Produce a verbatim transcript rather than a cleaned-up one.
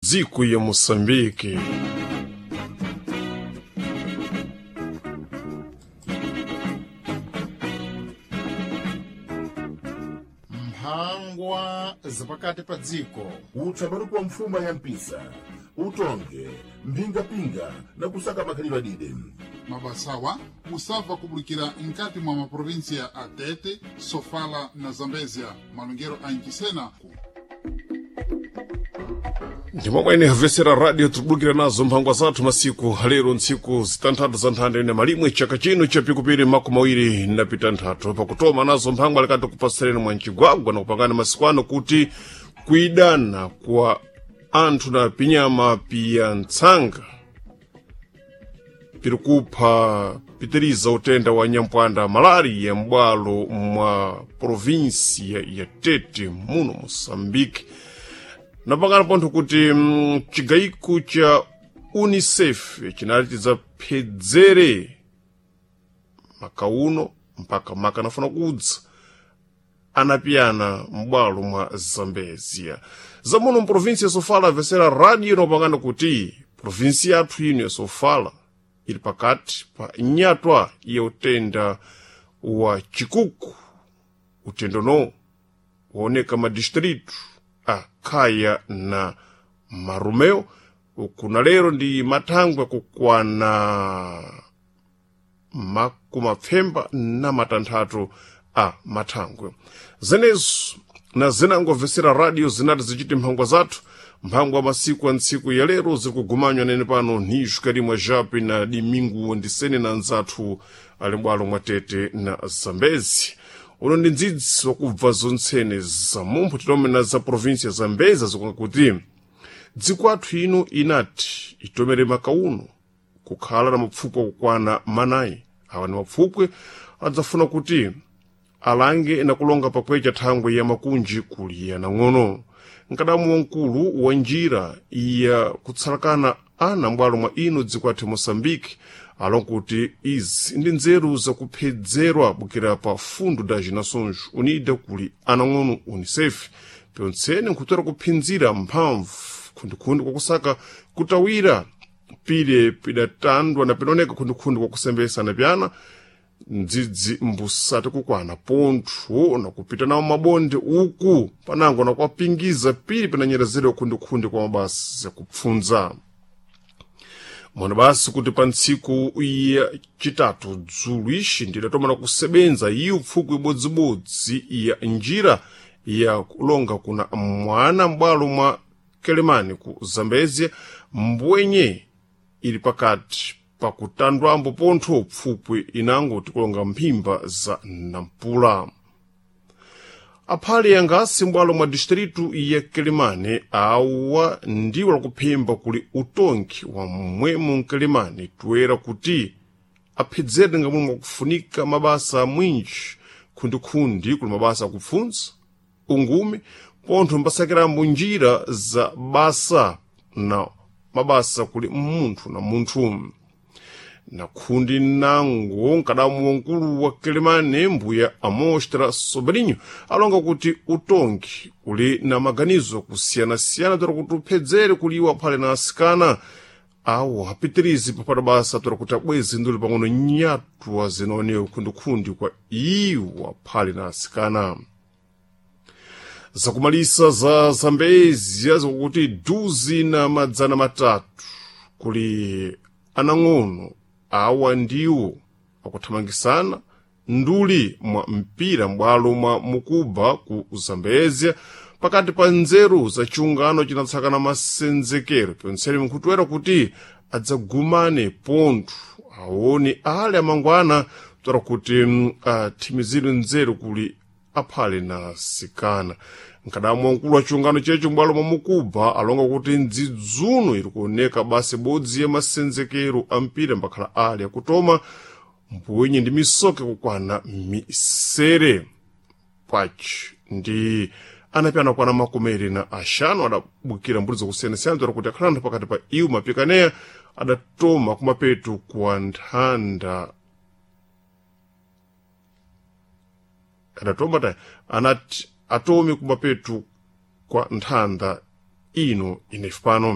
Dziko ya Moçambique. Mphangwa zapakati pa dziko. Utsamani kwa mfuma ya mpisa, utonge mphingapinga na kusaka makhalidwe adide. Mabasawa musabva kubulikira nkati mwa maprovinsia a Tete, Sofala na Zambezia, malongero a Ncisena. Ndimomwene havesera radio tibulukira nazo mphangwa zathu masiku lero ntsiku zitanthatu za nthanda ine malimwe chaka chino cha pikupiri makumi awiri na pitanthatu pakutoma nazo mphangwa likati kupasireni mwa mcigwagwa na kupangana masiku ano kuti kuidana kwa anthu na pinyama piya ntsanga piri kupha pitiriza utenda wa nyampwanda malaria m'bwalo mwa provinsia ya Tete muno Moçambique. Napangana pontho kuti mm, chigayiko cha UNICEF chinali chidzapedzere makauno mpaka maka anafuna kudza anapiyana m'bwalo mwa Zambezia. Zamuno mprovinsi ya Sofala avesera radio inopangana kuti provinsi yathu ino ya Sofala ili pakati pa nyatwa ya utenda wa chikuku. Utendo no waoneka madistritu a Khaya na Marumeo kuna lero ndi mathangwe kukwana makumapfemba na matanthatu a mathangwe. Zenezo na zinangobvesera radio zinati zichiti mphangwa zathu mphangwa masiku a ntsiku ya lero zikugumanywa nene pano nixu kalimwa japi na dimingu ndisene na nzathu ali m'bwalo mwa Tete na Zambezi. Uno ndi ndzidzi wakubva zontsene za mumpho titomena za provinsia za Zambezi zikunga kuti dziko athu ino inati itomere makauno kukhala na mapfukwe akukwana manayi. Awa ni mapfukwe adzafuna kuti alange na kulonga pakwecha thangwe ya makunji kuliya nang'ono. Nkadamu wamkulu wa njira ya kutsalakana ana m'bwalo mwa ino dziko athu Moçambique alonga kuti izi ndi nzeru zakuphedzerwa bukira pa Fundo das Nações Unidas kuli anang'ono UNICEF pyontsene nkhutera kuphinzira mphamvu khundikhundi kwakusaka kutawira pile pidatandwa na pinaoneka khundikhundi kwakusembesa na pyana ndzidzi mbusati kukwana pontho na kupita nawo mabonde uku panango na kwapingiza pili pinanyerezedwa khundikhundi kwa mabasa zakupfunza. Mwana basi kuti pa ntsiku ya chitatu dzulu ixi ndidatomana kusebenza iyo pfukwi ibodzibodzi ya njira ya kulonga kuna mwana m'bwalo mwa Kelemani ku Zambezia mbwenye ili pakati pakutandwambo pontho pfupwi inango tikulonga mphimba za Nampula. Aphale yangasi m'bwalo mwa distritu ya Kelemani awa ndiwo lakuphimba kuli utongi wa mmwemo mkelemani toera kuti aphedzere ngamwe mwakufunika mabasa mwinji khundikhundi kuli mabasa akupfunza ungumi pontho mbasakirambo njira za basa na mabasa kuli munthu na munthu. Na khundi nango nkadamu wankulu wa Kelemane mbuya Amostra Sobrinho alonga kuti utongi uli na maganizo kusiyanasiyana tora kuti uphedzere kuliwa aphale na asikana awo apitirizi papata basa tora kuti abweze nduli pang'ono nyatwa zinaonewa khundikhundi kwa iwo aphale na asikana. Zakumalisa za Zambezia zikuti duzi na madzana matatu kuli anang'ono awa ndiwo akuthamangisana nduli mwa mpira m'bwalo mwa Mukuba ku Zambezia pakati pa nzeru za chiungano chinatsakana masenzekero pyontsene mkhutuwera kuti adzagumane pontho aone ale amangwana tora kuti athimizire nzeru kuli aphale na sikana. Nkadamu wamkulu wa chiungano checho m'bwalo mwa Mukuba alonga kuti ndzidzuno iri kuoneka basi bodzi ya masenzekero a mpira mbakhala ali akutoma mbwenye ndi misoke kukwana misere pachi ndi anapyana kwana makumi eri na axanu adabukira mbuli zakusiyanasiyana tora kuti akhala anthu pakati pa iwo mapikaneya adatoma kumapeto kwa nthanda adatoma ta anati atomi kumapeto kwa nthanda Ino inefe pano.